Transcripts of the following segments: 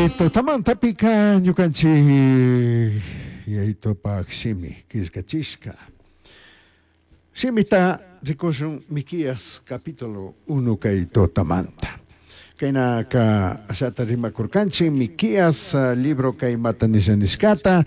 Kay tutamantapika ñukanchik Yayitopak shimi killkachishka shimita rikushun Miqueas capítulo 1 kay tutamanta. Kaynaka ashata rimakurkanchik Miqueas libro kay imata nisha nishkata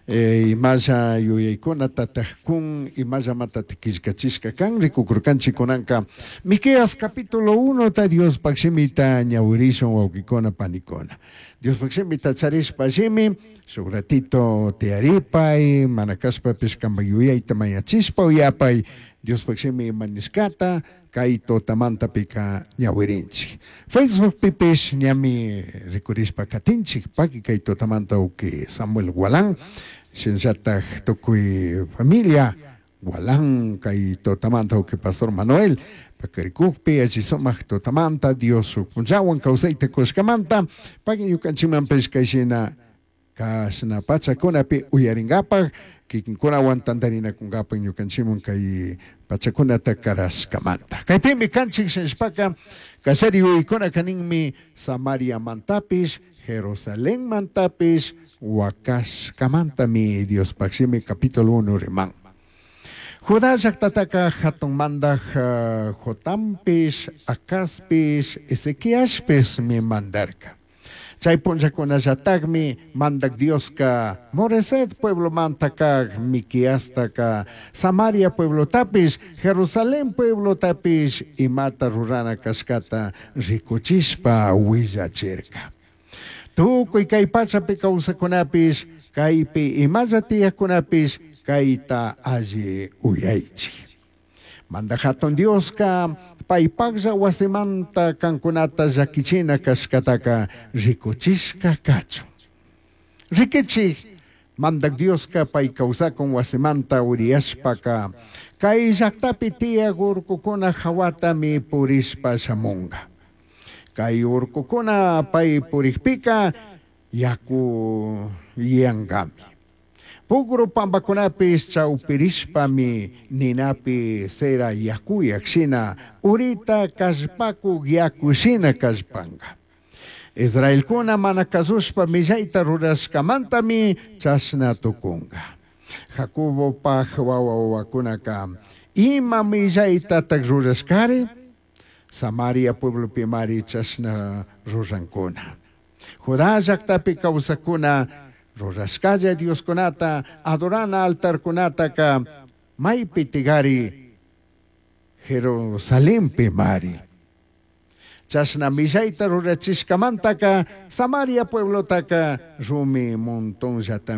imalla yuyaykunatataj kun imallamatataj killkachishka kan rikukurkanchik kunanka Miqueas capítulo 1 ta Diospaj shimita ñawirishun wawkikuna panikuna. Diospaj shimita charishpa shimi shuk ratito tiyaripay mana kashpapish kanpak yuyayta mañachishpa uyapay Diospaj shimi ima nishkata kay tutamantapika ñawirinchik. Facebookpipish ñami rikurishpa katinchik paki kay tutamanta uki Samuel Gualán shinallatak tukuy familia Gualán kay tutamanta uki Pastor Manuel pakarikukpi alli sumak tutamanta Dios shuk punllawan kawsayta kushkamanta paki ñukanchikmanpish kayshina kashna pachakunapi uyarinkapak kikinkunawan tantarinakunkapak ñukanchikman kay pachakunata karashkamanta. Kaypimi kanchik shinashpaka kallari yuyaykunaka ninmi Samariamantapish Jerusalenmantapish wakashkamantami Diospaj shimi capítulo 1 riman. Judá llaktataka hatun mandaj Jotampish, Acazpish, Ezequiaspishmi mandarka. Chay punllakunallatakmi mandak Dioska Moreset pueblomanta kak Miqueastaka Samaria pueblotapish, Jerusalén pueblotapish imata rurana kashkata rikuchishpa willachirka. Tukuy kay pachapi kawsakunapish, kaypi imalla tiyakkunapish kayta alli uyaychik. Mandak hatun Dioska paypaklla wasimanta kankunata llakichina kashkataka rikuchishka kachun. Rikichik, mandak Dioska pay kawsakun wasimanta uriyashpaka kay llaktapi tiyak urkukuna hawatami purishpa shamunka. Kay urkukuna pay purikpika yaku yankami. Pugru pampakunapish chawpirishpami ninapi cera yakuyak shina urita kallpakuk yaku shina kallpanka. Israelkuna mana kasushpa millayta rurashkamantami chashna tukunka. Jacobopaj wawa wawakunaka ima millaytatak rurashkari? Samaria pueblopimari chashna rurankuna. Judá llaktapi kawsakuna rurashkalla Dioskunata adorana altarkunataka maypi tigari Jerusalenpi mari. Chashna millayta rurachishkamantaka Samaria pueblotaka rumi montonllatami.